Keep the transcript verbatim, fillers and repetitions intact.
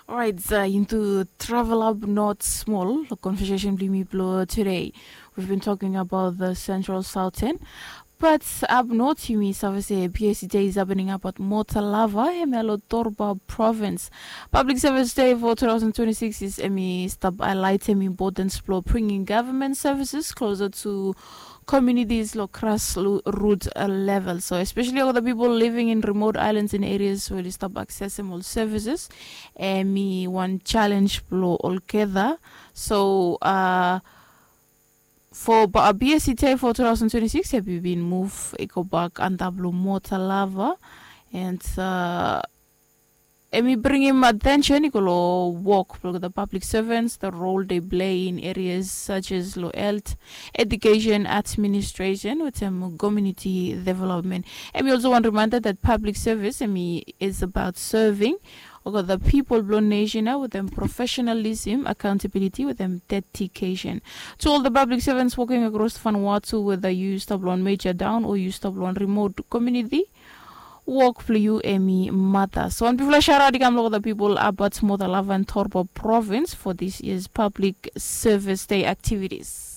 Alright, uh, into travel up north small conversation blimi blo today. We've been talking about the central southern, but up north yumi save se PSC day is happening up at Motalava, hemia lo Torba province. Public service day for two thousand twenty-six is emi stop highlight emi importance blo bringing government services closer to communities lo grassroot level. So especially all the people living in remote islands and areas where they stop accessing all services, emi one challenge blo olgeta. So uh, for BSC day for two thousand twenty-six, emi bin move i go bak antap lo Motalava, and uh, emi bringim attention i go lo work blo the public servants, the role they play in areas such as lo health, education, administration, wetem community development. Emi also one reminder that public service emi is about serving, okay, the people blo nation wetem professionalism, accountability, wetem dedication. To all the public servants working across Vanuatu, whether you stop lo one major town or you stop lo one remote community, work blo yu emi matas. So one bigfala shout out i kam lo the people about Motalava and Torba province for this year's public service day activities.